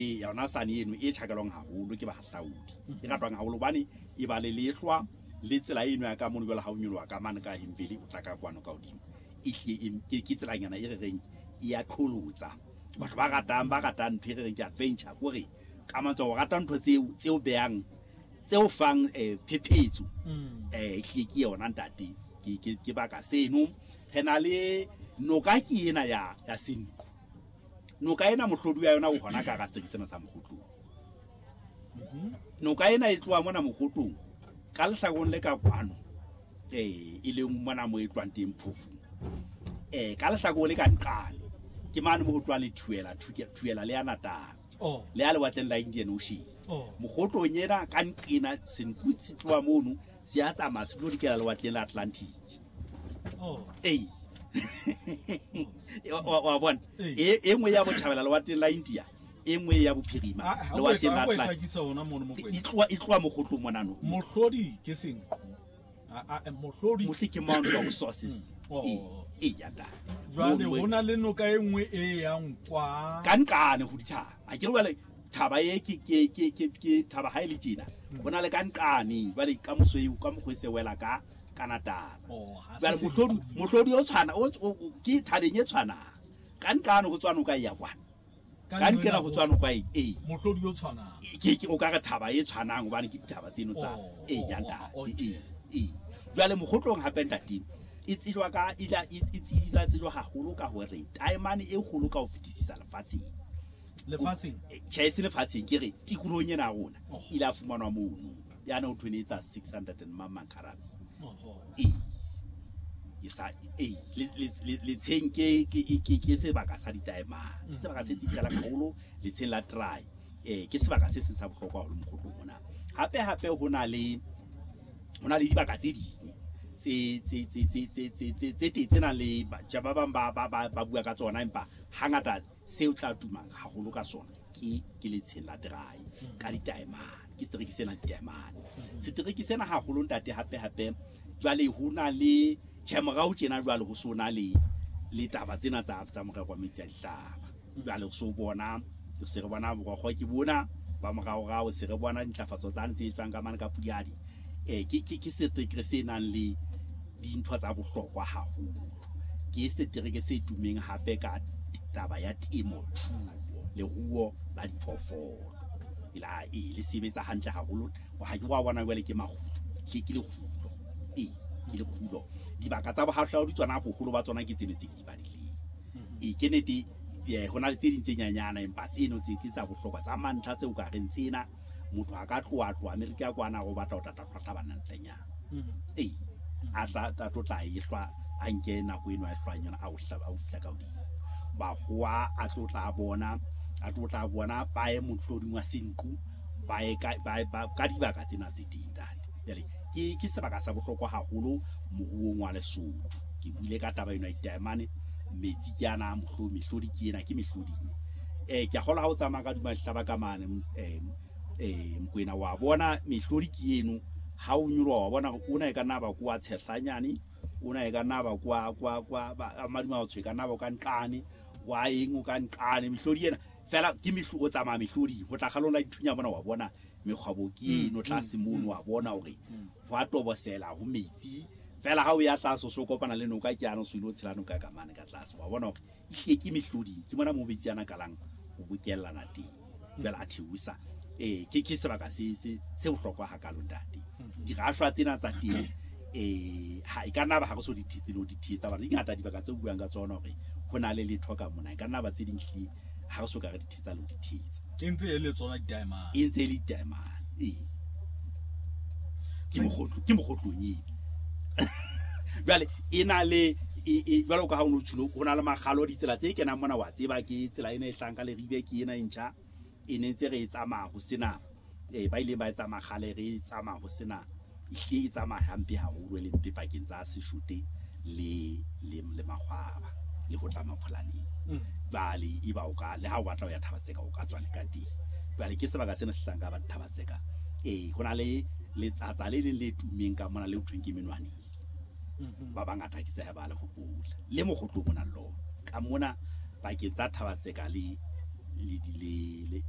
Yona sane eno e tjhakelwang haholo ke bahahlaudi, e ratwang haholo hobane e ba le lehlwa le tsela eno ya ka mono. Jwale ha o nyoloha ka mane ka Himveli, o tla ka kwano ka hodimo, e hlile ke tselanyana e re reng e ya qholotsa batho ba ratang ntho e re reng ke adventure, kore ka mantswe o rata ntho tseo behang, tseo fang phephetso. Ehlile ke yona, ntate, ke baka seno. Re na le noka ke ena ya Senqu. Noka ena mohlodi wa yona o hona ka hara setereke sena sa Mokgotlong. Noka ena e tloha mona Mokgotlong ka lehlakoreng le ka kwano, e leng mona mo e tlohang teng Phofung, ka lehlakoreng le ka nqane ke mane mo ho tlohang le Thuela, Thuela le ya Natal le ya lewatleng la Indian Ocean. Mokgotlong ena ka nqena, Senqu se tloha mono, se a tsamaya se tlo dikela lewatleng la Atlantic. Ee, wa bona, e nngwe ya botjhabela lewatleng la India, e nngwe ya bophirima lewatleng la Atlantic. E tloha Mokgotlong monano. Mohlodi ke Senqu. Mohlodi mohlodi ke mount of sources. Ee, ya ta. Jwale ho na le noka e nngwe e yang kwa ka nqane ho dithaba. A ke re jwale thaba e ke thaba ha e le tjena, ho na le ka nqane. Jwale ka moso eo ka mokgwa e se wela ka Natala. Jwale mohlodi o tshwana ke thabeng e tshwanang, ka nqane ho tswa noka e ya kwana, ka nqena ho tswa noka e ee. Mohlodi o tshwanang. Ke o ka re thaba e tshwanang, hobane ke dithaba tseno tsa e ya ntate. Ee, jwale Mokgotlong hape, ntate, e tsejwa ka e ila tsejwa haholo ka hore taemane e kgolo ka ho fetisisa lefatsheng. Lefatsheng? Tjhe, e se lefatsheng, ke re tikolohong ena ya rona. Ile a fumanwa mono yana ho thwene e tsa 600 and mamang carats. Ee, ke sa ee, letsheng ke sebaka sa ditaemane, ke sebaka se tsebisalang haholo letsheng la Trai. Ke sebaka se seng sa bohlokwa haholo Mokgotlong mona. Hape hape ho na le dibaka tse ding tse teng tse nang le batjha ba bang ba bua ka tsona, empa hangata seo tla tumang haholo ka sona ke letsheng la Trai ka ditaemane. Ke setereke sena ditaemane, setereke sena haholo, ntate. Hape hape jwale ho na le, tjhe, morao tjena jwale ho so na le taba tsena tsa morero wa metsi a dihlaba. Jwale so bona se re bona borokgo ke bona ba moraorao, se re bona dintlafatso tsane tse etswang ka mane ka Pudihadi. Ke setereke se nang le dintho tsa bohlokwa haholo. Ke setereke se tumeng hape ka taba ya temo thuo, leruo la diphoofolo ela e le sebetsa hantle haholo. Ha ke wa bona jwale ke makgulo, ke lekgulo, ee, ke lekgulo. Dibaka tsa bohahlaudi tsona boholo ba tsona ke tseno tse ke di badileng. Ee, ke nete, ho na le tse ding tse nyanyana, empa tseno tse ke tsa bohlokwa tsa mantlha tseo ka reng tsena motho a ka tloha Amerika kwana o batla ho tla hlwa bana ntlenyana. Ee, a tla tlo tla e hlwa, a nke nako eno a e hlwang yona, a o fihla ka hodimo bakgowa, a tlo tla bona, a tlo tla bona ba ye mohloding wa Senqu, ba ye ka dibaka tsena tse teng, ntate. Jwale ke sebaka sa bohlokwa haholo moruong wa Lesotho. Ke buile ka taba eno ya ditaemane, metsi ke ana, mehlodi ke ena, ke mehloding. Ke a kgolwa ha o tsamaya ka duma dihlaba ka mane, Mokwena, wa bona mehlodi ke eno. Ha o nyoloha wa bona hore ona e ka nna ba kwa Tshehlanyane, ona e ka nna ba kwa Madima e ka nna ba ka nqane wa eng, o ka nqane. Mehlodi ena fela ke o tsamaya mehlodi ho tla kgalong la dithunya mona, wa bona mekgwabo ke eno tlase mono, wa bona hore ho a tobosela ho metsi fela. Ha o ya tlase o so kopana le noka ke ano, so ile o tshela noka ka mane ka tlase, wa bona hore ehlile ke mehloding, ke mona mo metsi ana kalang ho bokellana teng, jwale a theosa. Ee, ke sebaka se bohlokwa hakalo, ntate. Dirashwa tsena tsa teng, ha e ka nna ba ha re so di thetse le ho di thetsa bana di ngata dibaka tse buang ka tsona hore ho na le letho ka mona, e ka nna ba tse ding hlile ha re so ka re di thetsa le ho di thetsa. E ntse e le tsona didiamane? E ntse e le diamane, ee. Ke mokgotlo, ke mokgotlong eno. Jwale e na le jwalo ka ha o no tjholo, ho na le makgalo, ditsela tse kenang mona, wa tseba ke tsela ena e hlang ka Leribe, ke ena e ntjha e ne ntse re e tsamaya ho sena, ba ileng ba e tsamaya kgale, re e tsamaya ho sena, ehlile e tsamaya hampe haholo, e le mpe pakeng tsa Seshote le Makgwaba le ho tla Mapholaneng. Jwale e ba o ka le ha o batla ho ya Thaba-Tseka, o ka tswa le ka teng. Jwale ke sebaka sena se hlang ka ba Thaba-Tseka. Ee, ho na le letsatsa le leng le tummeng ka mona le ho thweng ke Menwaneng. Ba bangata ke se ba le hopola le mokgotlong mona le lona ka mona pakeng tsa Thaba-Tseka le le le le